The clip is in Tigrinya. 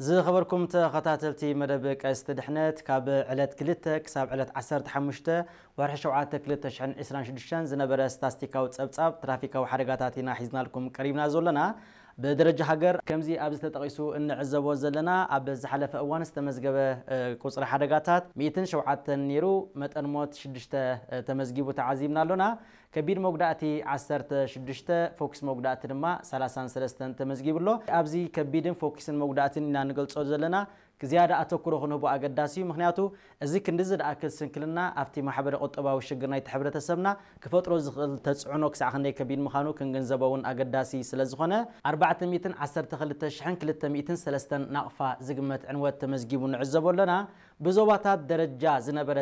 ዝኸበርኩም ተኸታተልቲ መደብ ቀስት ድሕነት፣ ካብ ዕለት ክልተ ክሳብ ዕለት ዓሰርተ ሓሙሽተ ወርሒ ሸውዓተ ክልተ ሽሕን ዕስራን ሽዱሽተን ዝነበረ ስታስቲካዊ ጸብጻብ ትራፊካዊ ሓደጋታት ኢና ሒዝናልኩም ቀሪብና ዘለና። ብደረጃ ሃገር ከምዚ ኣብዚ ተጠቒሱ እንዕዘቦ ዘለና፣ ኣብ ዝሓለፈ እዋን ዝተመዝገበ ቁጽሪ ሓደጋታት ሚእትን ሸውዓተን ነይሩ፣ መጠን ሞት ሽዱሽተ ተመዝጊቡ ተዓዚብና ኣሎና። ከቢድ መጉዳእቲ ዓሰርተ ሽዱሽተ፣ ፎክስ መጉዳእቲ ድማ ሰላሳን ሰለስተን ተመዝጊቡ ኣሎ። ኣብዚ ከቢድን ፎክስን መጉዳእትን ኢና ንገልጾ ዘለና፣ ዝያዳ ኣተኩሮ ክንህቦ ኣገዳሲ እዩ። ምኽንያቱ እዚ ክንዲ ዝደኣክል ስንክልና ኣብቲ ማሕበረ ቁጠባዊ ሽግር ናይቲ ሕብረተሰብና ክፈጥሮ ዝኽእል ተጽዕኖ ክሳዕ ክንደይ ከቢድ ምዃኑ ክንግንዘቦ እውን ኣገዳሲ ስለ ዝኾነ፣ ኣርባዕተ ሚእትን ዓሰርተ ክልተ ሽሕን ክልተ ሚእትን ሰለስተን ናቕፋ ዝግመት ዕንወት ተመዝጊቡ ንዕዘቦ ኣለና። ብዞባታት ደረጃ ዝነበረ